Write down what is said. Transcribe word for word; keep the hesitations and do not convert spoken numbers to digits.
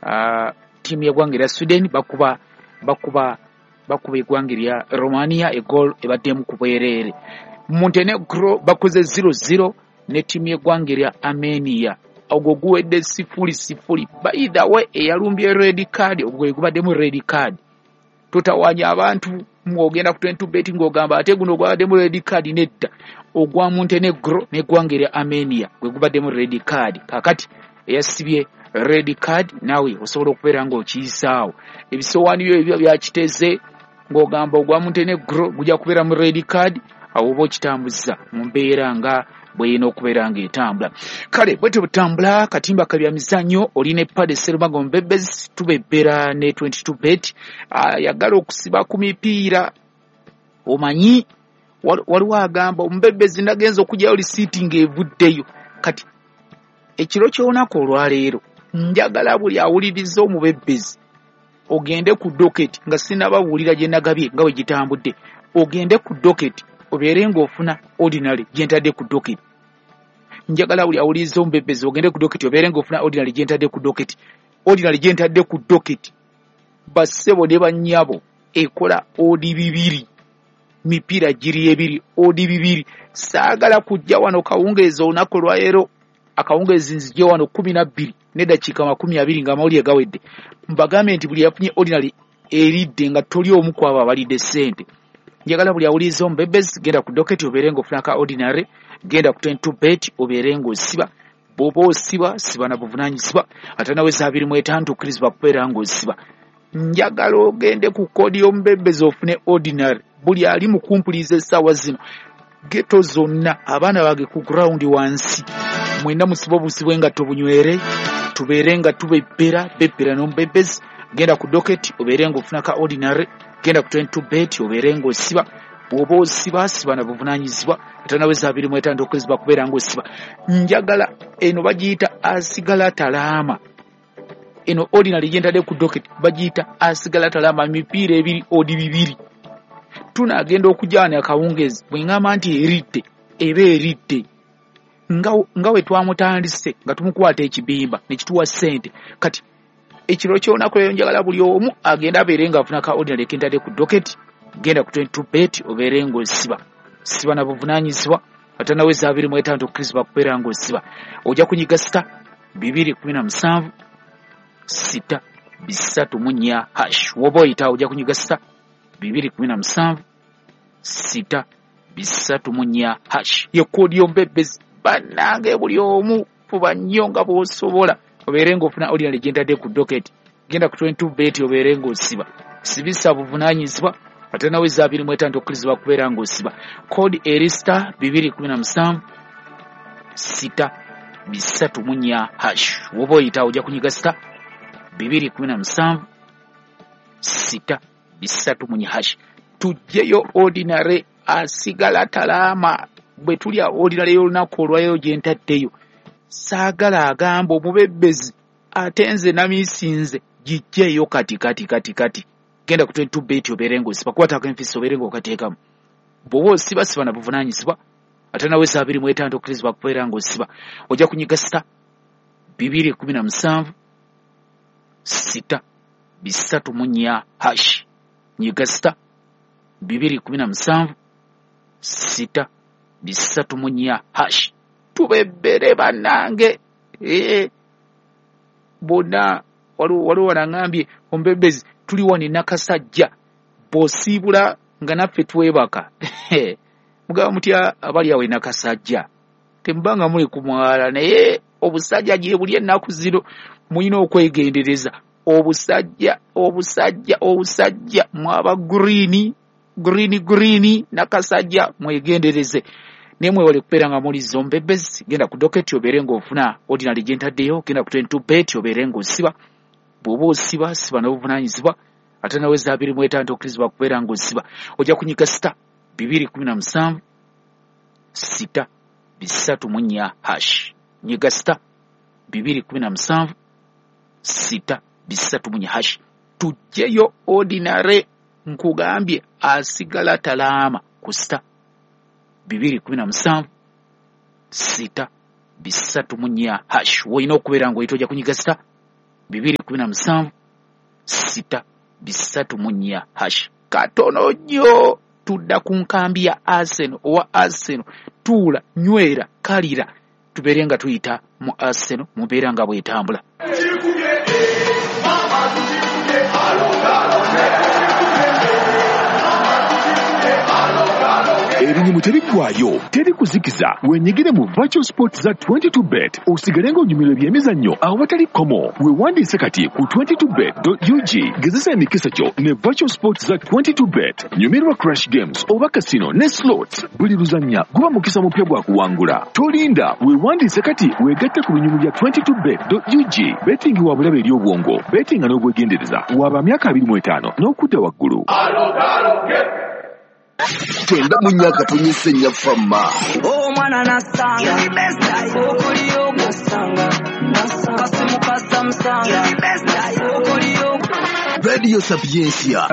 uh, ttiimu y'eggwanga erya Sweden bakuba bakuba bakuba eggwanga erya Romania egoal ebaddemu ku bwereere. Montenegro bakoze zero zero ne ttiimu y'eggwanga erya Armenia, ogwo guwedde sifuli sifuli. By the way, eyalumbye red card, ogwo gwe gubaddemu red card. Totawanya abantu mwogenda ku twenty-two bet ng'ogamba ate guno gwabaddemu red card. Nedda, ogwa Montenegro n'eggwanga erya Armenia gwe gubaddemu red card. Kaakati eyasibye red card naawe osobola okubeera ng'okiyisaawo ebisowaani byo ebyo byakiteze ng'ogamba ogwa Montenegro gujja kubeera mu red card, awo oba okitambuza mu mbeera nga bw'erina okubeera ng'etambula. Kale bwetyo butambula katimba kabya mizannyo. Olina epade Serumago Mbebezi, tubebbera ne twenty-two bet. Ayagala okusiba ku mipiira, omanyi waliwo agamba omubebezi nagenza okugyayo lisiiti ng'evuddeyo. Kati ekiro ky'olunaku olwaleero njagala buli awuliriza omubebezi ogende ku docket, nga sinnababuulira gye nagabye nga bwe gitambudde, ogende ku docket obeere ng'ofuna ordinary gye ntadde ku docket. Njagala buli awuliriza omubebezi ogende ku docket obeere ng'ofuna ordinary gye ntadde ku docket. Ordinary gye ntadde ku docket, bassebo ne bannyabo, ekola odi bibiri, mipiira giri ebiri, odi bibiri. Saagala kujja wano kawungeezi olunaku olwaleero, akawungeezi nzije wano kkumi na bbiri n'eddakiika makumi abiri ng'amawulire gawedde, mbagambe nti buli yafunye ordinary eridde nga toli omu ku abo abalidde ssente. Njagala buli awuliriza omubebezi genda ku docket obeere ng'ofuna ka ordinary, genda ku twenty-two bet obeere ng'osiba. Bw'oba osiba, siba na buvunaanyizibwa, ate naweza abiri mu etaano tukkirizibwa kubeera ng'osiba. Njagala ogende ku koodi y'omubebezi ofune ordinary. Buli ali mu kumpuliza essaawa zino, ghetto zonna, abaana bange ku ground wansi, mwenna musibe obusi bw'engatto bunywere, tubeere nga tubebbera bebbera n'omubebezi. Genda ku docket obeere ng'ofuna ka ordinary, genda ku twenty-two bet obeere ng'osiba. Bw'oba osiba, siba na buvunaanyizibwa, ate naweza abiri mu etaano tukkirizibwa kubeera ng'osiba. Njagala eno bagiyita asigala talaama. Eno ordinary gye ntadde ku docket bagiyita asigala talaama, mipiira ebiri odi bibiri. Tunaagenda okujaana akawungeezi, bwe ŋŋamba nti eridde, eba eridde. Nga, nga we twamutandise nga tumukwata ekibimba ne kituwa ssente. Kati ekiro ky'olunaku leero njagala buli omu agende abeere ng'afuna ka ordinary ke ntadde ku docket. Genda ku twenty-two bet obeere ng'osiba. Siba na buvunaanyizibwa, ate naweza abiri mu etaano tukkirizibwa kubeera ng'osiba. Ojja kunyiga sita bibiri kumi na musanvu sita bisatu mu nnya hash. W'oba oyita ojja kunyiga sita bibiri kumi na musanvu sita bisatu mu nnya hash. Ye koodi y'omubebezi. Bannange buli omu fuba nnyo nga bw'osobola obeere ng'ofuna ordinary gye ntadde ku docket. Genda ku twenty-two bet obeere ng'osiba. Sibisa buvunaanyizibwa, ate naweza abiri mu etaano tukkirizibwa kubeera ng'osiba. Koodi eri sita bibiri kumi na musanvu sita bisatu mu nnya hash. W'oba oyita ojja kunyiga sita bibiri kumi na musanvu sita bisatu mu nnya hash. Tuggyeyo ordinary asigala talaama. Bwe tulya ordinary y'olunaku olwaleero gye ntaddeyo, saagala agamba omubebezi ate nze namisinze, giggyeyo kati kati kati kati. Genda ku twenty-two bet obeere ng'osiba, kwatako enfisi obeere ng'okateekamu. Bw'oba osiba, siba na buvunaanyizibwa, ate naweza abiri mu etaano tukkirizibwa kubeera ng'osiba. Ojja kunyiga sita bibiri kumi na musanvu sita bisatu mu nnya hash. Nyiga sita bibiri kumi na musanvu sita bisatu mu nnya hash. Tubebbere bannange. Ee, bonna waliwo wanaŋŋambye omubebezi tuli wano e Nakasajja, bw'osiibula nga naffe twebaka. Mugaba mutya abali awo e Nakasajja, temubanga muli ku mwala, naye obusajja gye buli ennaku zino mulina okwegendereza. Obusajja, obusajja, obusajja, mwaba green, green, green, Nakasajja mwegendereze. Naye mwewale kubeera nga muliza omubebezi. Genda ku docket obeere ng'ofuna ordinary gye ntaddeyo, genda ku twenty-two bet obeere ng'osiba. Bw'oba osiba, siba n'obuvunaanyizibwa, ate naweza abiri mu etaano tokkirizibwa kubeera ng'osiba. Ojja kunyiga sita bibiri kumi na musanvu sita bisatu mu nnya hash. Nyiga sita bibiri kumi na musanvu sita bisatu mu nnya hash. Tuggyeyo ordinary, nkugambye asigala talaama ku sita bibiri kumi na musanvu sita bisatu mu nnya hash. W'olina okubeera ng'oyita ojja kunyiga sita bibiri kumi na musanvu sita bisatu mu nnya hash. Katono nnyo tudda ku nkambi ya Arsenal. Owa Arsenal tuula, nywera, kalira, tubeere nga tuyita mu Arsenal mubeera nga bwetambula. Ebinyumu tebiggwayo, teri kuzikiza. Wenyigire mu virtual sports za twenty-two bet osigale ng'onyumirwa ebyemizannyo awatali kkomo. Weewandiise kati ku twenty-two bet dot U G. Gezesa emikisa gyo ne virtual sports za twenty-two bet. Nyumirwa crash games oba casino ne slots. Buli luzannya guba mukisa mupya gwa kuwangula. Tolinda, weewandiise kati weegatte ku binyumu bya twenty-two bet dot U G. Betting wa bulabe eri obwongo, bettinga n'obwegendereza. Waba myaka abiri mu etaano n'okudda waggulu. Tenda mu myaka tunyise nnyafamma. Omwana nasanga, okuliyo nasanga, kasimu kasamusanga, okuliyo. Radio Sapientia.